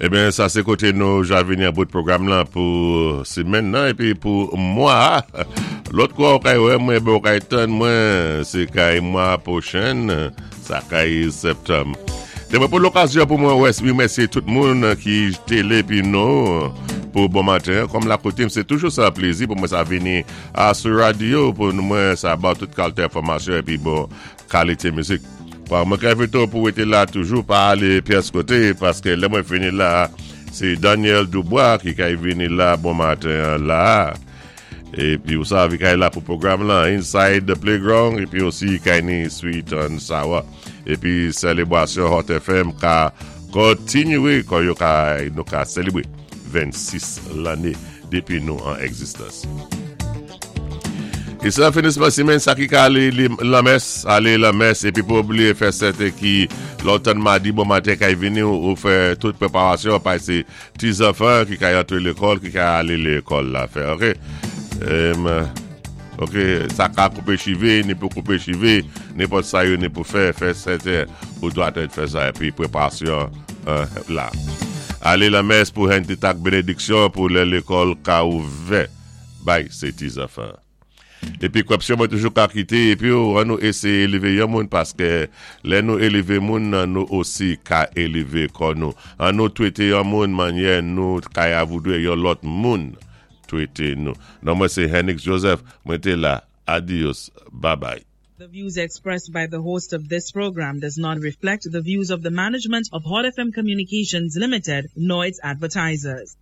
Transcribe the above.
Eben, sa sé koté nou ja vini an bout pwogram lan pou simenn nan épi pou mwa. Lòt kwa ou kay wè mwen, eben ou kay tann mwen, sé kay mwa pwochenn, sa kay septanm. Té mwen pran lokazyon pou mwen wè remèsyé tout moun ki télé épi nou pou bon maten. Kòm la koutim, sé toujou sa plézi pou mwen sa vini a sou radyo pou mwen sa ba tout kalité enfòmasyon épi bon Kalite mizik. Bon, mwen ka envite w pou rete la toujou, pa ale pyès kote, paske lè mwen fini la, se Daniel Dubois ki kay vini la bon maten an la. Epi ou sav, i kay la pou pwogram lan, Inside the Playground, epi osi kay ni Sweet and Sour. Epi selebrasyon Hot FM ka kontinye, kon yo ka, nou ka selebre 26 lanne depi nou an egzistans. E se nan finisman simenn sa ki ka ale lanmès, ale lanmès epi pou bliye fè sèten ki lè w tann madi bon maten kay vini ou fè tout preparasyon pase ti zanfan ki kay antre lekòl ki kay ale lekòl la fè ok ok sa ka koupe chive ni pou koupe chive nenpòt sa yo ni pou fè fè sèten ou dwa tèt fè sa epi preparasyon la ale lanmès pou jwenn ti tak benediksyon pou lè lekòl ka ouvè. Bay se ti zanfan. Epi kwèpsyon mwen toujou ka kite epi ou an nou eseye eleve yon moun paske lè nou eleve moun nan nou osi ka eleve kò nou. An nou twete yon moun manyè nou kay avoudre yon lòt moun twete nou. Non mwen se Hennix Joseph mwen te la adios babay. The views expressed by the host of this program does not reflect the views of the management of Hot FM Communications Limited nor its advertisers.